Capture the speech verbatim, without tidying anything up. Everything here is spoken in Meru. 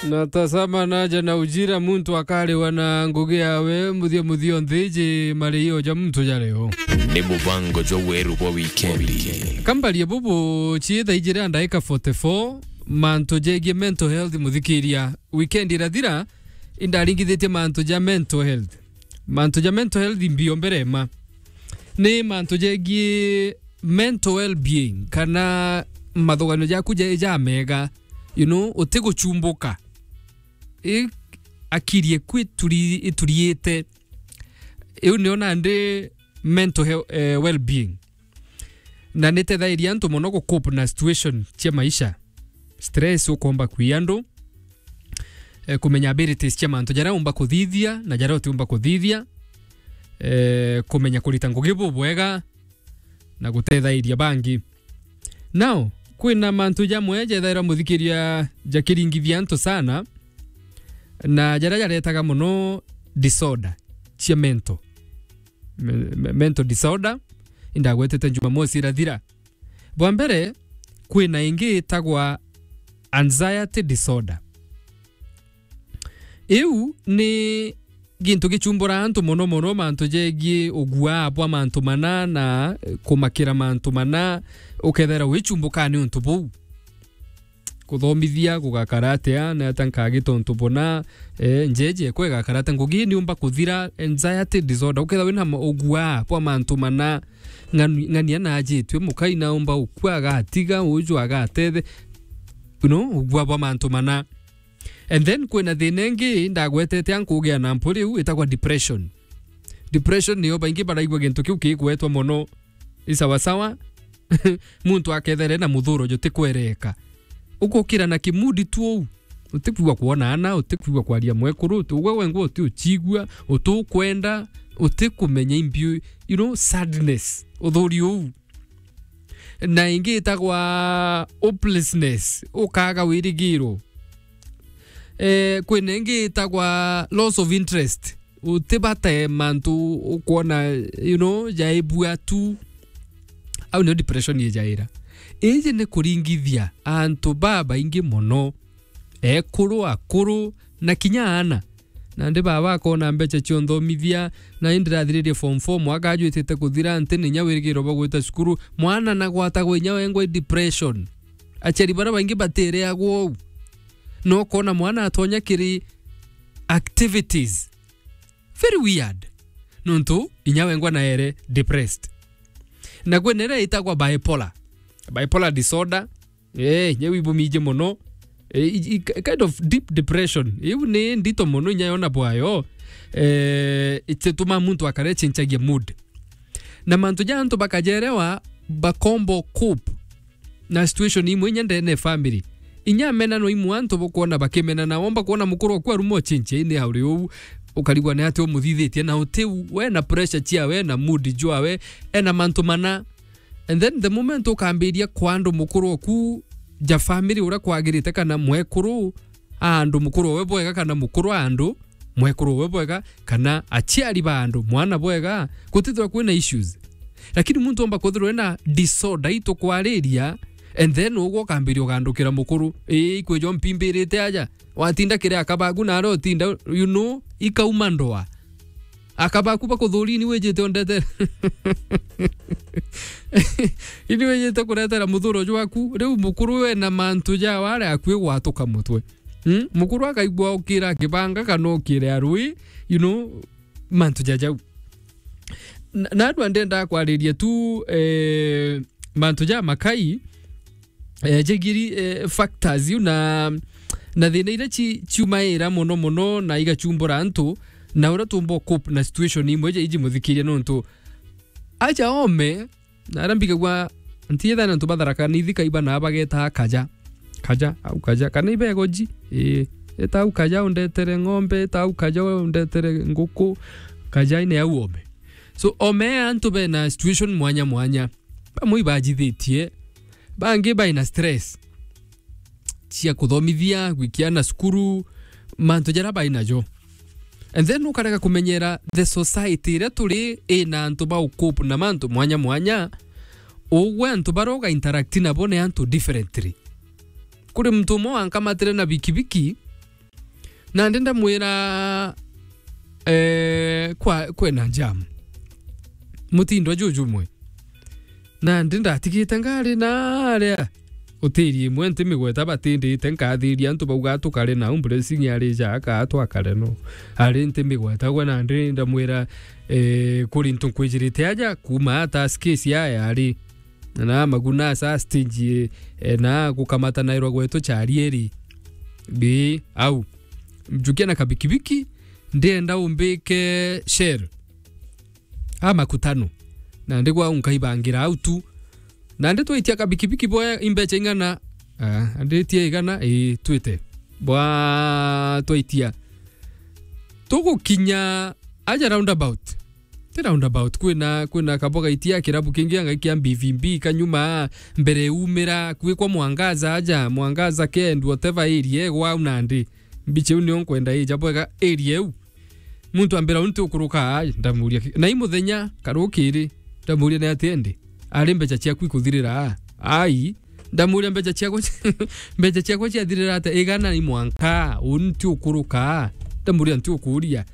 Na tazama naja na ujira, muntu akariwa na ngugi yawe, muthia muthia nthi iji mariio ja muntu ja leo. Ni mubango jwa weru bwa wikendi. Kambarie bubu, ciitha ijiri na ndaika forty-four, mantu jegie mental health, muthikiria. Wikendi irathira, indaringithitie mantu ja mental health. Mantu ja mental health mbio mbere ma. Ni mantu jegie mental well-being, kana mathuganio jaku ja, ja mega, you know, utiguchumbuka. I, akiri eku ituri-, ituriite. Iu nio nandi mental he-, eh, well-being. Na nitethairia antu mono gu cope na situation cia maisha. Stress ukomba kwia andu, eh, kumenya abilities cia mantu jaria umba kuthithia na jaria utiumba kuthithia, eh, kumenya kurita ngugi bubwega, na gutethairia bangi. Now, kwina mantu jamwe jethairwa muthikiria jakiringithia antu sana, na jaria jaretaga mono disorder cia mental. Me-, me-, mental disorder, indagwetete Jumamosi irathira. Bwa mbere, kwina ingi itagwa anxiety disorder. Iu ni gintu gichumbura antu mono mono, mantu jegie uguaa bwa mantu mana na, eh, kumakira mantu mana, ukethira wichumbuka ni untu buu. Kuthomithia gugakara atia, ni atia nkagita untu buna, eh, njeje ekwa igakara atia, ngugi niumba kuthira, anxiety disorder, ukethira wina ma-, uguaa bwa mantu mana, ng'ani-, ng'ania najitue, mukai naumba ukua agatiga, uju agatethe, you know, uguaa bwa mantu mana. And then kwina thina ingi ndagwetete ankugia na mpuri iu itagwa depression. Depression niyo baingi baraigua gintu kiu kigwetwa mono. I sawa sawa, muntu akethere na muthuro jutikwereka. Ukukira na kimudi tu uu. Utikwigua kwona ana, utikwigua kwaria mwekuru, uti-, ugwe wengwa uti uchigua, utukwenda, utikumenya imbi, you know, sadness, uthuri uu. Na ingi itagwa hopelessness, ukaga wirigiro. Eh, kwina ingi itagwa loss of interest. Utibate mantu ukwona, you know, jaibua tu. Au nio depression ijaira. Iji ni kuringithia antu babaingi mono. Ekuru, akuru, na kinya aana. Nandi baba akona mbeca cia unthomithia, na indi ndirathiririe form four, mwaka ajwitite kuthira, nti na inya wirigiro bwa gwita cukuru. Mwana nagwatagwa inya wengwa i depression. Aciari baria baingi batireagwa uu. No ukona mwana atonya kiri activities. Very weird. Nontu inya wengwa naere depressed. Na kwina iria itagwa bipolar. Bipolar disorder. Eh, inya wibumiji mono. Eh, i, i, kind of deep depression. Iu ni ndito mono inya yona bwayo. Eh, itituma muntu akare chinchagia mood. Na mantu ja antu bakajerewa, bakombo cope na situation imwe inya ndene family. Inya amenano imwe antu bukwona bakimena na womba kwona mukuru oku aruma ochinchia ini auri uu, ukarigwa ni ati umuthithitie na uti we na pressure ciawe na mood jwawe, ena mantu mana. And then the moment ukambiria kwa andu mukuru oku ja family uria kwagirite kana mwekuru, a andu mukuru owe bwega kana mukuru a andu, mwekuru owe bwega, kana aciari ba andu, mwana bwega, gutithirwa kwina issues. Lakini muntu omba kwithirwa ena disorder itukwariria, and then ugwe ukambiria ugandukira mukuru, ii, ikwijo mpimbirite aja, watinda kiri akabagu na aria utinda, you know, ikauma ndoa. Akabaku bakuthuria ini wijite undete-, ini wijite kuretera muthuro jwaku. Riu mukuru ena mantu jawe aria akui gwatuka mutwe. Hmm? Mukuru akaigua ukira akibanga kana ukire arui, you know, mantu ja jau. Na, na andu ndenda kwariria tu, eh, mantu ja makai, eh, jegiri, eh, factors iu na, na thina iria ci-, ciumaira mono mono na igachumbura antu, na uria tumba cope na situation imwe iji muthikiria nontu aja ome, na aria mbigagua ntiethana antu batharaka ni thika iba na bageta kaja. Kaja, au kaja. Kana ibegoji, ii. Eta au kaja undetere ng'ombe, eta au kaja undetere nguku, kaja ine au ome. So, ome antu bena situation mwanya mwanya. Bamwe ibajithitie, bangi baina stress cia kuthomithia, gwikia ana cukuru, mantu jaria bainajo. And then ukarega kumenyera the society iria turi ina antu ba ukope na mantu mwanya mwanya. Ugwe antu baria uga interact nabo ni antu differently. Kuri muntu umwe wankamatire na bikibiki, Nandi ndamwira, eh, kwa, kwina jam. Mutindo jujumwe. Nandi ndatigite ngari naria. Utiri imwe ntimigweta batindite nkathiria antu bauga tukare nau, Blessing ari ja aka twakare no. Ari ntimigweta gwe nandi ndamwira, eh, kuri ntu nkwijirite aja kuma ata skesi aya ari. Na maguna sa stage, eh, na gukamata nairwa gwetu chari eri. Bi, au. Njukia na kabikibiki, ndienda umbike Shell. A makutano. Nandi gwa nkaibangira au tu. Nandi twaitia kabikibiki boya imbecha ing'ana. Ah, anditie igana, ii, twite. Bwa twaitia. Tugukinya aja roundabout. Ti roundabout, kwina, kwina kaboga itia kirabu kingi angai kia B V B kanyuma, mbere umira, kwi kwa Mwangaza aja, Mwangaza Kend, whatever area, gwau nandi. Mbicha iu nio nkwenda ija bwega area iu. Muntu ambira, "Unti ukuruka aa?" Ndamuria, "Ki-, na i muthenya, karukiri?" Ndamuria, "Ni atia indi?" Ari, "Mbecha ciaku ikuthirira aa?" "Ai." Ndamuria, "Mbecha ciakwa ci-, mbecha ciakwa ciathirira atia?" "Igana i mwanka, unti ukuruka aa?" Ndamuria, "Nti ukuria."